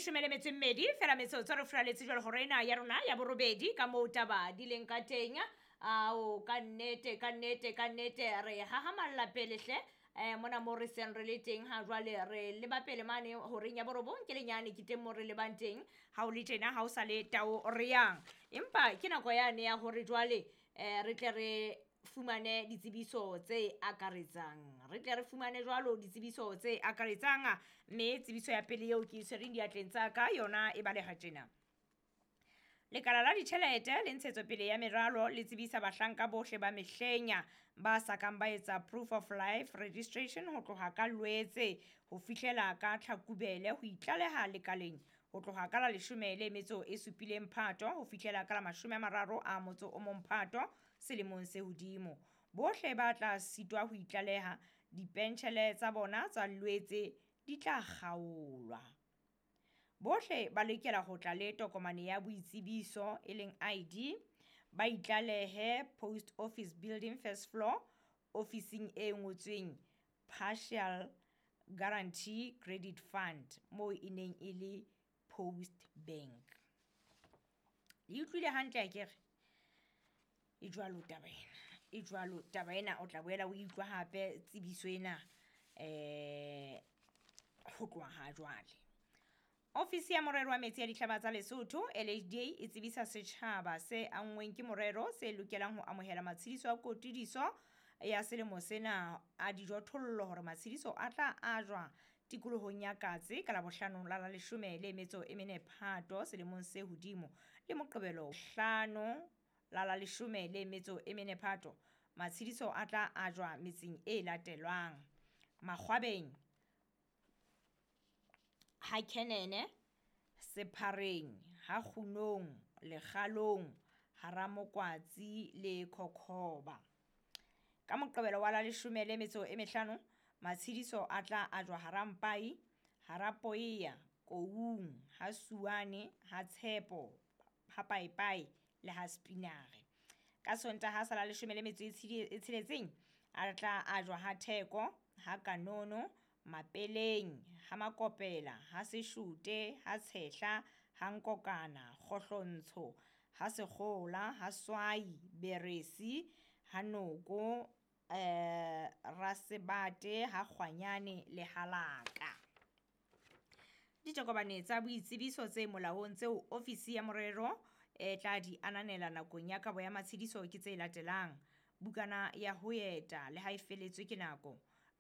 Leshome le metso e mmedi fela metsotso re furaletse jwale hora ena ya rona ya borobedi ka moo taba di leng ka teng. Ao, ka nnete, ka nnete, ka nnete re hahamalla pele hle. Mona mo re seng re le teng ha jwale re leba pele mane horeng ya borobong ke lenyane ke teng mo re lebang teng. Ha o le tjena ha o sa le tao re yang. Empa ke nako yane ya hore jwale re tle re fumane ditsebiso tse akaretsang. Re tle re fumane jwalo ditsebiso tse akaretsang, mme tsebiso ya pele eo ke e tshwereng diatleng tsa ka yona e baleha tjena. Lekala la ditjhelete le ntshetsopele ya meralo le tsebisa bahlanka bohle ba mehlenya ba sa kang ba etsa proof of life registration ho tloha ka Lwetse ho fihlela ka Tlhakubele ho itlaleha lekaleng ho tloha ka la 17 Phato ho fihlela ka la 31 Phato selemong se hodimo. Bohle ba tla sitwa ho itlaleha, dipentjhele tsa bona tsa Lwetse di tla kgaolwa. Bohle ba lokela ho tla le tokomane ya boitsebiso e leng ID, ba itlalehe Post Office Building first floor, ofising e ngotsweng Partial Guarantee Credit Fund moo e neng e le Post Bank. Le utlwile hantle akere? E jwalo taba ena, e jwalo taba ena. O tla boela o utlwa hape tsebiso ena ho tloha ha jwale. Ofisi ya morero wa metsi ya dihlaba tsa Lesotho LHDA e tsebisa setjhaba se anngweng ke morero se lokelang ho amohela matshediso a kotudiso ya selemo sena a dijothollo hore matshediso a tla ajwa tikolohong ya Katse ka Labohlano la la 14 Phato selemong se hodimo le Moqebelo 5 la la 14 Phato. Matshediso a tla ajwa metseng e latelwang: Makgwabeng, ha Kenene, Sephareng, ha Kgunong, Lekgalong, Haramokwatsi le Khokhoba. Ka Moqebelo wa la 15 matshediso a tla ajwa Harampai, Harapoea, Koung, ha Suane, ha Tshepo, ha Paepae le ha Spinare. Ka Sontaha sa la 16 a tla ajwa ha Theko, ha Kanono, Mapeleng, ha Makopela, ha Seshote, ha Tshehla, ha Nkokana, Kgohlontsho, ha Sekgola, ha Swai, Beresi, ha Noko, Rasebate, ha Kgwanyane le Halaka. Ditokomane tsa boitsebiso tse molaong tseo ofisi ya morero e tla di ananela nakong ya kabo ya matshediso ke tse latelang: bukana ya ho eta le ha e feletswe ke nako,